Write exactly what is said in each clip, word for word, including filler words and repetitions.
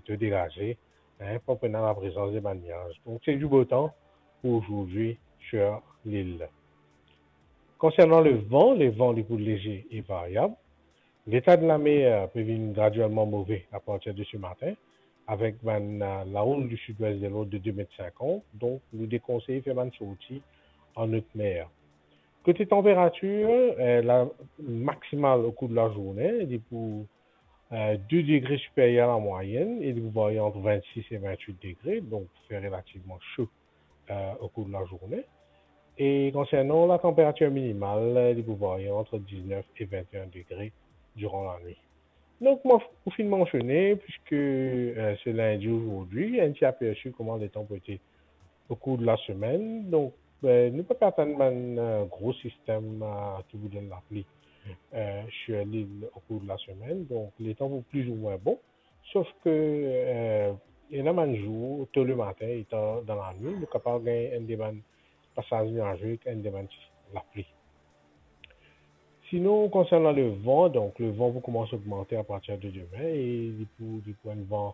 plito degaze, hein, pa pou ena laprezans de bann niaz. Donk, se du beau temps pou zordi sur lil. Konsernan levan, levan li pou leze e varyab. Leta de lamer pe vinn graduelman move apartir de se matin, avek bann, eh, laoul du sud-ouest de l'ordre de deux mètres cinquante, donk nou dekonseye fer bann sorti an not mer. Kote tanperatir, eh, la maximal au cours de la journée, li pou, eh, deux degrés supérieur à la moyenne, e li pou varye ant vingt-six e vingt-huit degrés, donk fer relativman so, eh, au cours de la journée. E konsernan la tanperatir minimal, li pou varye ant diznef e vinteen degre diran lanwit. Donk, mo pou finn mansione, piske, eh, se lindi zordi, enn ti apersi kouma letan pou ete au cours de la semaine. Donk, eh, nou pa pe atann bann, eh, gro sistem, eh, ki pou donn lapli, eh, sur lil au cours de la semaine. Donk, letan pou plizoumwin bon. Sof ke, eh, ena bann zour, to lematin e tar dan lanwit, nou kapav gagn enn de bann pasaz niaze ek enn de bann lapli. Sinon, konsernan levan, donk, levan pou koumans ogmante apartir de demin e li pou, li pou enn van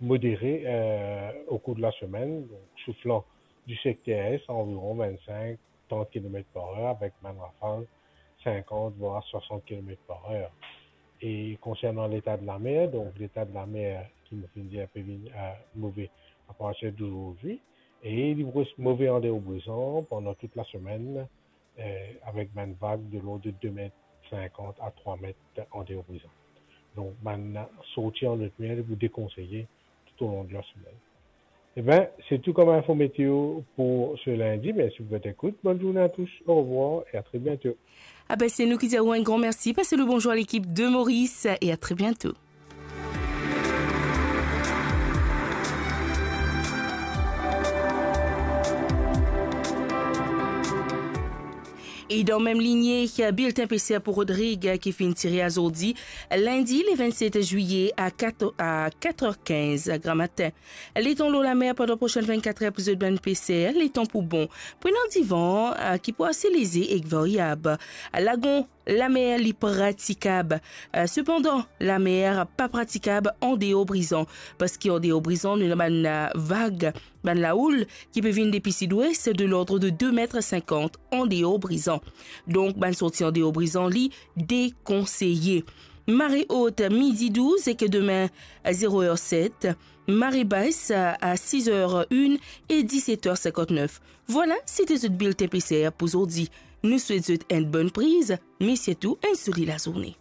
modere, eh, au cours de la semaine, donk, souflan du secteur est anviron vingt-cinq, trente kilomètres par heure, avek bann rafal cinquante voire soixante kilomètres par heure. E konsernan leta de lamer, donk, leta de lamer, ki mo finn dir, pe vinn, eh, move apartir de zordi, e li pou res move an deor Brizan pandan tou la semenn, eh, avek bann vag de lord de deux mètres cinquante à trois mètres an deor Brizan. Donk, bann sorti an not mer pou dekonseye tou o long de la semenn. Eben, se tou kom info meteo pou se lindi. Mersi pou zot ekout. Bonn zourne a tous. Au revoir et à très bientôt. Abe, se nou ki dir ou enn gran mersi. Pas le bonzour a lekip de Moris e a tre biento. E dan mem linie, bilten P C R pou Rodrig ki finn tire azordi, lindi le vennset zwiye, a kat, a kat er kinz gramatin. Letan lor lamer pandan prosenn vennkat er pou zot bann P C R, letan pou bon. Pou ena divan, a, ki pou ase leze ek varyab. Lagon, lamer li pratikab. A, sepandan, lamer pa pratikab an deor Brizan, parski an deor Brizan, nou ena bann, a, vag, bann laoul ki pe vinn depi sidwes de lord de deux mètres cinquante an deor Brizan. Donk, bann sorti an deor Brizan, li dekonseye. Mare ot, midi douz ek demin, zero er set. Mare bas, a, a siz er enn e diset er sinkantnef. Vwala, se te zot bilten P C R pou zordi. Nou swet zot enn bonn priz, me sirtou enn soli lazourne.